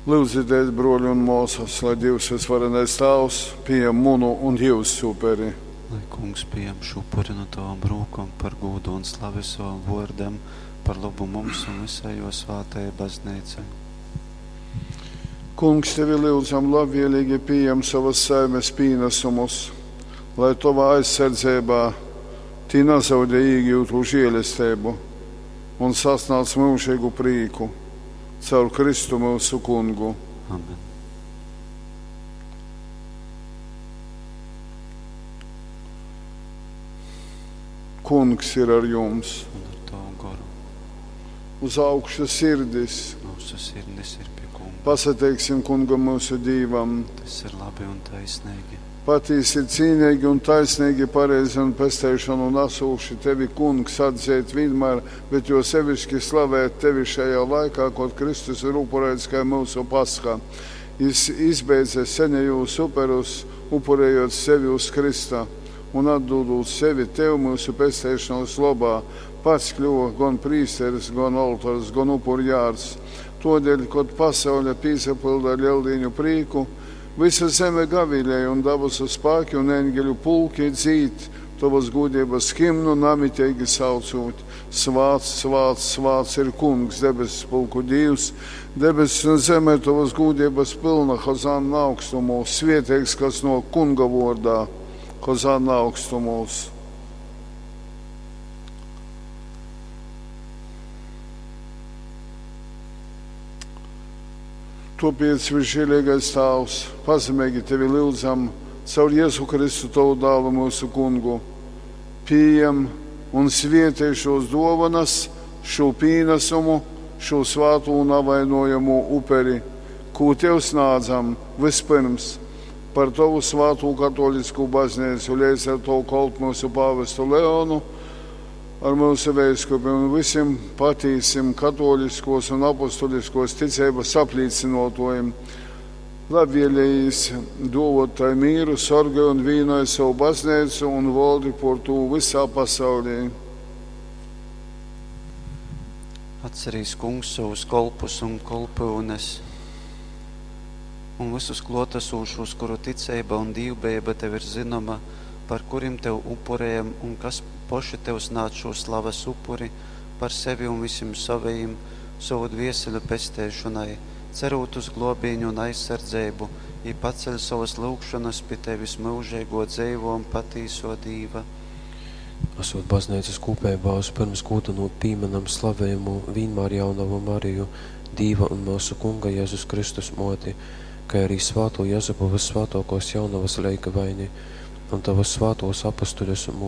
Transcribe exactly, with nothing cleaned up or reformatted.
Lyudzitēs, brōli un mōsas, lai Dīvs vysvarenais Tāvs pījam munu un jyusu uperi. Lai Kungs pījam šū upuri nu tovom rūkom par gūdu un slavi sovam vōrdam, par lobu mums un vysai jō svātajai Bazneicai. Kungs, tevi lyudzam, labvēlīgi pījam sovas saimes pīnasumus, lai tovā aizsardzeibā tī nazaudej īgyutū žēlesteibu un sasnādz myužeigu prīku. Caur Kristu myusu Kungu. Amen. Kungs ir ar jums. Un ar tavu goru. Uz augšu sirdis. Mūsu sirdis ir pie Kunga. Pasateiksim Kungam myusu Dīvam. Tas ir labi un taisnīgi. Patīsi ir cīnīgi un taisnīgi, pareizi un pesteišanu nasūši tevi, Kungs, atzeit vienmēr, bet jo sevišķi slavēt tevi šajā laikā, kad Kristus ir upurēts kā mūsu pasha. Jis izbeidza senejūs uperus, upurējot sevi uz Krista un atdūdot sevi tev mūsu pesteišanas lobā, pats kļuva gan prīsteris, gan oltors, gan upurjārs. Todēļ, kad pasaule pīsapilda ar lieldīņu prīku, visa zeme gavilēja un dabasu spēki un eņģeļu pulki dzīt tavas gudrības himnu namitīgi saucot. Svāts, svāts, svāts ir Kungs, debesu pulku Dievs, debesis un zeme tavas gudrības pilna, Hozanna augstumos, svētīgs, kas no Kunga vārdā, Hozanna augstumos. Topiec, visžēlīgais Tāvs, pazemīgi tevi lūdzam, caur Jēzu Kristu tavu dālu mūsu kungu. Pieņem un svietī šos dovanas, šo pīnesumu, šo svāto un avainojamo uperi, ko tev snādzam vispirms par tavu svāto katolisko baznīcu, līdz ar to kolpu mūsu pāvestu Leonu, ar mūsu veiskupiem un visiem patīsim katoliskos un apustuliskos ticības aplīcinotojiem. Labvēlējis dovot tai mīru, sorgoj un vīnoja savu baznīcu un valdi por tū visā pasaulī. Atcerīs Kungs savus kolpus un kolpyunes un visus klotesošos, kuru ticība un dīvbejība tev ir zinoma, par kurim tev upurējam un kas poši tev snāc šo slavas upuri par sevi un visiem savajiem, savu dvieseļu pesteišonai, cerot uz globīņu un aizsardzību, i paceļ savas lūgšanas pie tevis mūžīgo dzeivo un patīso Dīva. Esot baznīcas kūpībā, vispirms gūdanot pīmenam slavējumu vienmēr jaunavu Mariju, Dīva un mūsu Kunga Jēzus Kristus moti, kā arī svāto Jezupu vissvātākos jaunavas leigavaini un tavus svātos apustuļus un